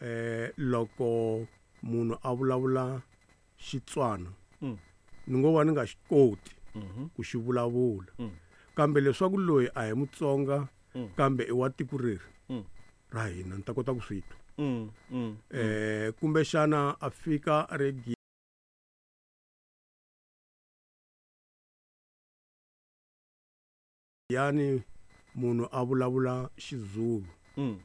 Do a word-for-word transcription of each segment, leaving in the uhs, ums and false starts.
Eh loko munhu a vulavula Xitswana Mm. ni ngo va ni nga xi koti Mhm. ku xi vulavula. Mm. Kambe leswaku loyi a hi Mutsonga Mm. kambe i wa tiko reri Mm. ra hina ni ta kota ku swi twa. Mm. Mm. Eh kumbexana a fika a ri Giyani munhu a vulavula Xizulu. Mm.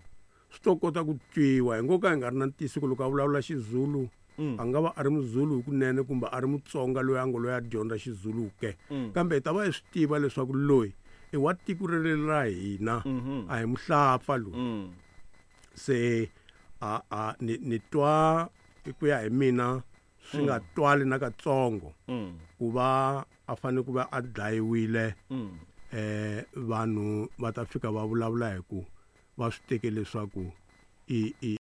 Swi to kota ku twiwa hi ngo ka hi nga ri na ntiyiso ku loko a vulavula Xizulu Mm. a nga va a ri Muzulu hikunene kumbe a ri Mutsonga loyi a ngo loyi a dyondza Xizulu ke. Mm. Kambe hi ta va hi swi tiva leswaku loyi i wa tiko reri ra hina Mhm. a hi muhlapfa loyi. Mm. Se a a ni ni twa hi ku ya hi mina swi nga twali na katsongo Mm. ku va a fanele ku va a dlayiwile Mm. eh vanhu va ta fika va vulavula hi ku va swi teke leswaku i i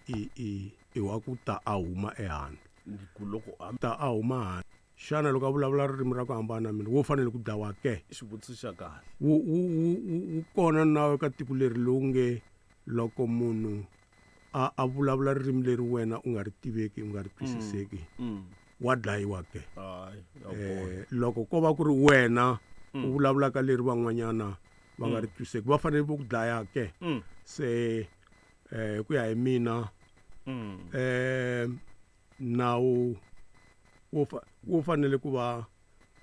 i i i wa ku ta a huma ehandle Ni ku loko a ta a huma handle xana loko a vulavula ririmi ra ku hambana na mina wo fanele ku dlawa ke xivutiso xa kahle wu wu wu wu- wu kona nawu eka tiko leri lowu nge loko munhu a a vulavula ririmi leri wena u nga ri tiveki u nga ri twisiseki Mm. wa dlayiwa ke Hayi, ya kona. eh loko ko va ku ri wena u vulavulaka leri van'wanyana va nga ri twisiseki va fanele va ku dlaya ke Mm. se eh hi ku ya hi mina Mm. eh nawu wo fa- wu fanele ku va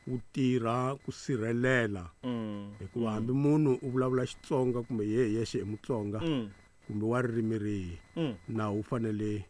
wu tirha ku sirhelela Mm. hikuva hambi munhu u vulavula Xitsonga kumbe ye hi yexe i Mutsonga Mm. kumbe wa ririmi rihi Mm. nawu wu fanele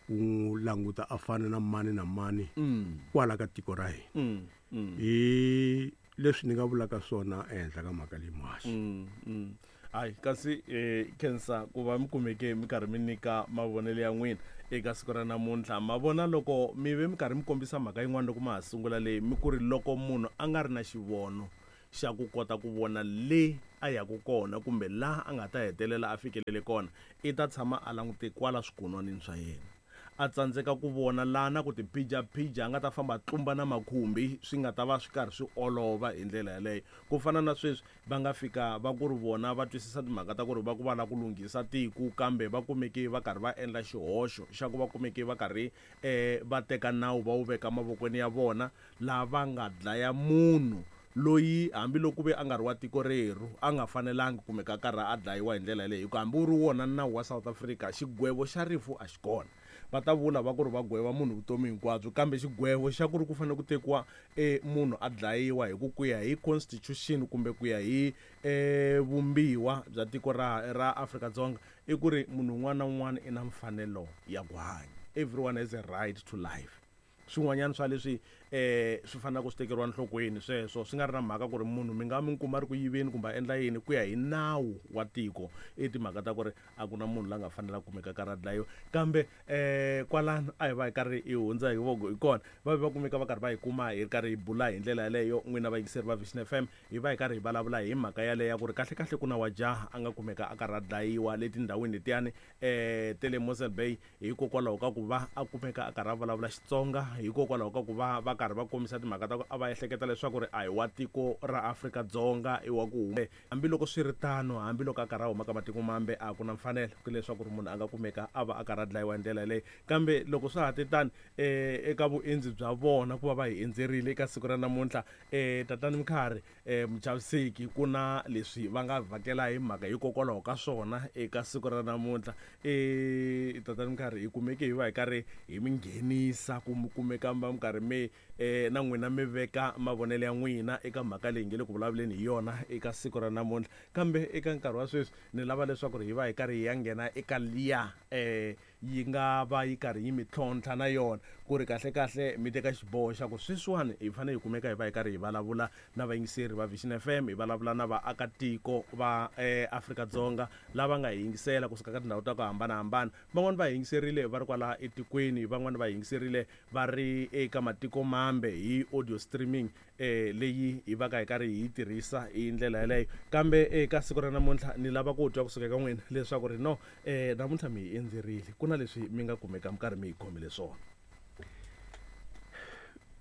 wu n'wi languta a fana na mani na mani Mm. kwala ka tiko ra hina Mm. Mm. hi leswi ni nga vulaka swona ehenhla ka mhaka leyi muhaxi Mm, mm. Hayi kasi eh khensa ku va mi kumeke mi karhi mi nyika mavonelo ya n'wina eka siku ra namuntlha ma vona loko mi ve mi karhi mi kombisa mhaka yin'wana loko ma ha sungula leyi mi ku ri loko munhu a nga ri na xivono xa ku kota ku vona le a yaku kona kumbe laha a nga ta hetelela a fikelele kona i ta tshama a langute kwala swikunwanini swa yena a tsandzeka ku vona laha na ku tiphijapija a nga ta famba a tlumba na makhumbi swi nga ta va swi karhi swi olova hi ndlela yaleyo ku fana na sweswi va nga fika va ku ri vona va twisisa timhaka ta ku ri va ku va lava ku lunghisa tiko kambe va kumeke va karhi va endla xihoxo xa ku va kumeke va karhi um va teka nawu va wu veka mavokweni ya vona lava nga dlaya munhu loyi hambiloko ve a nga ri wa tiko rerhu a nga fanelangi kumeka a karhi a dlayiwa hi ndlela yaleyo hikuva hambi wu ri wona nawu wa South Africa xigwevo xa rifu a xi kona va ta vula va ku ri va gweva munhu vutomi hinkwabyo kambe xigwevo xa ku ri ku fanele ku tekiwa e munhu a dlayiwa hi ku ku ya hi constitution kumbe ku ya hi e vumbiwa bya tiko ra ra Afrika-Dzonga i ku ri munhu un'wana na un'wana i na mfanelo ya ku hanya everyone has a right to life swin'wanyana swa leswi eh swi faneleke swi tekeriwa enhlokweni sweswo swi nga ri na mhaka ku ri munhu mi nga mi kuma ri ku yiveni kumbe a endla yini ku ya hi nawu wa tiko i timhaka ta ku ri a ku na munhu la nga fanela ku kumeka karhi a dlayiwa kambe eh kwalano a hi va hi karhi hi hundza hi voko hi kona va ve va kumeka va karhi va hi kuma hi ri karhi hi bula hi ndlela yaleyo n'wina vayingiseri va Vision F M hi va hi karhi hi vulavula hi mhaka yaleyo ya ku ri kahlekahle ku na wa jaha a nga kumeka a karhi a dlayiwa le tindhawini letiyani eh te le Mossel Bay hikokwalaho ka ku va a kumeka a karhi a vulavula Xitsonga hikokwalaho ka ku va va karhi va kombisa timhaka ta ku a va ehleketa leswaku ri a hi wa tiko ra Afrika-Dzonga i wa ku hume hambiloko swi ri tano hambiloko a karhi a huma ka matiko mambe a ku na mfanelo ku leswaku ri munhu a nga kumeka a va a karhi a dlayiwa hi ndlela yaleyo kambe loko swa ha te tani eh eka vuendzi bya vona ku va va hi endzerile eka siku ra namuntlha eh tatani Mkhari eh Muchaviseki ku na leswi va nga vhakela hi mhaka hikokwalaho ka swona eka siku ra namuntlha eh tatani Mkhari hi kumeke hi va hi karhi hi mi nghenisa ku mi kumeka mi va mi karhi mi eh na n'wina mi veka mavonelo ya n'wina eka mhaka leyi nge le ku vulavuleni hi yona eka siku ra namuntlha kambe eka nkarhi wa sweswi ni lava leswaku ri hi va hi karhi hi ya nghena eka liya eh yi nga va yi karhi yi mi tlhontlha na yona ku ri kahlekahle mi teka xiboho xa ku sweswiwani hi fanele hi kumeka hi va hi karhi hi vulavula na vayingiseri va Vision F M hi vulavula na vaakatiko va eh, Afrika-Dzonga lava nga hi yingisela kusuka ka tindhawu ta ku hambanahambana van'wani va hi yingiserile va ri kwala etikweni van'wani va hi yingiserile va ri eka matiko mambe hi audio streaming eh leyi hi va ka hi karhi hi yi tirhisa hi ndlela yaleyo kambe eka siku ra namuntlha ni lava ku twa kusuka eka n'wina leswaku ri no eh namuntlha mi hi endzerile ku na leswi mi nga kumeka mi karhi mi hi khomile swona.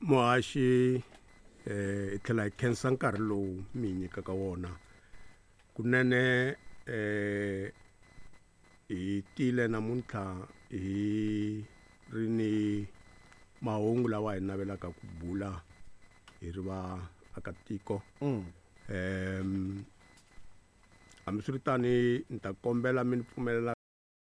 Muhaxi, eh hi tlhela hi khensa nkarhi lowu mi hi nyikaka wona. Kunene eh hi tile namuntlha hi ri ni mahungu lawa hi navelaka ku bula hi ri vaakatiko. Mm. Em hambiswiritani ni ta kombela mi ni pfumelela